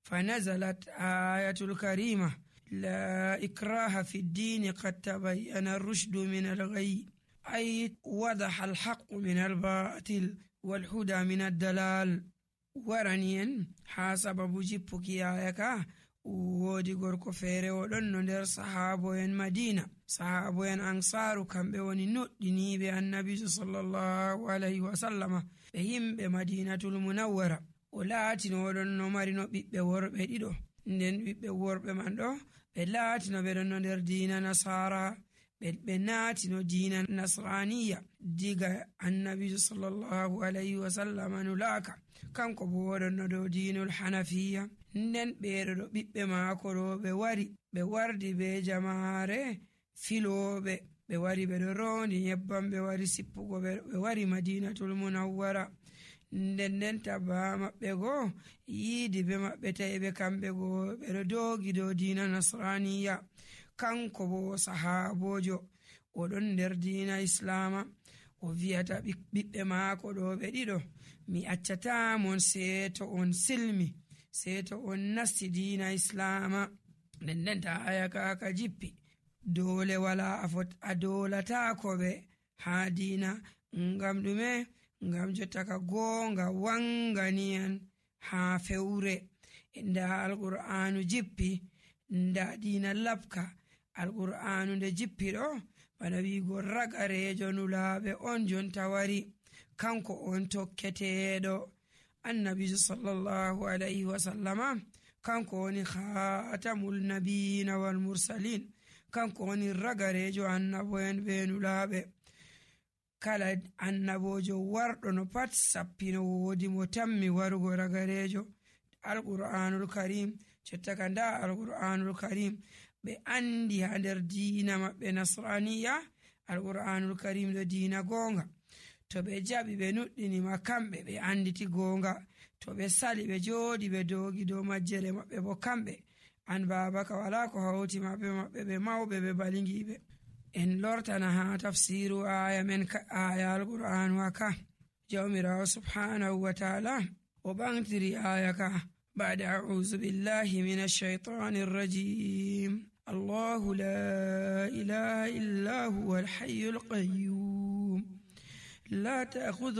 فنزلت آية الكريمة لا إكراه في الدين قد تبين الرشد من الغي، أي وضح الحق من الباطل والهدى من الدلال. ورانين حسب جيبك آية woodi gorko feere o ɗon no nder sahabo'en Madina. Sahabo'en Ansaru kamɓe woni noɗɗiniiɓe annabijo sallallahu alayhi wa sallama, ɓe yimɓe Madinatul Munawwara. O laatino oɗon no marino ɓiɓɓe worɓe ɗiɗo, nden ɓiɓɓe worɓe man ɗo ɓe laatino ɓe ɗon no nder diina Nasara, ɓe naatino diina Nasraniya diga annabijo sallallahu alayhi wa sallama nulaaka, kanko bo woɗon no dow diinul Hanafiya. nden ɓeeɗo ɗo ɓiɓɓe maako ɗo ɓe wardi be jamaare filooɓe, ɓe wari ɓe ɗo roondi nyebbam, ɓe wari sippugo ɓe wari Madinatul Munawwara. nden tabba maɓɓe goo yiidi be maɓɓe tawi ɓe kamɓe goo ɓe ɗo doogi dow diina Nasraniya. kanko bo sahaabojo oɗon nder diina Islama, o wiyata ɓiɓɓe maako ɗo ɓe ɗiɗo, mi accatamon seeto on silmi, seeto on nasti diina Islama. nden ta aya ka jippi dole wala a dolatako ɓe ha diina. ngam ɗume? ngam jotta ka goonga wanganiyan ha fewre. nda alqur'anu jippi, nda diina labka. alqur'anu nde jippi ɗo bana wiigo ragarejo nulaaɓe on jonta wari, kanko on tokketeɗo. annabijo sallallahu alayhi wa sallama kanko woni khatamul nabiyina wal mursalin, kanko woni ragarejo annabo'en be nulaaɓe. kala annabojo warɗo no pat sappino woodi mo tammi warugo ragarejo. alqur'anul karim jotta ka nda alqur'anul karim ɓe andi ha nder diina maɓɓe Nasraniya. alqur'anul karim ɗo diina goonga. to ɓe jaɓi ɓe nuɗɗinima kamɓe ɓe anditi goonga, to ɓe sali ɓe jooɗi ɓe doogi dow majjere maɓɓe bo kamɓe an babaka wala ko hawti maɓɓe ɓe mawɓe ɓe balingiɓe. en lortana ha tafsiru aya men aya alqur'anu aka. jawmirawo subhanahu wa ta'ala o ɓantiri aya ka بعد أعوذ بالله من الشيطان الرجيم. الله لا إله إلا هو الحي القيوم لا تأخذه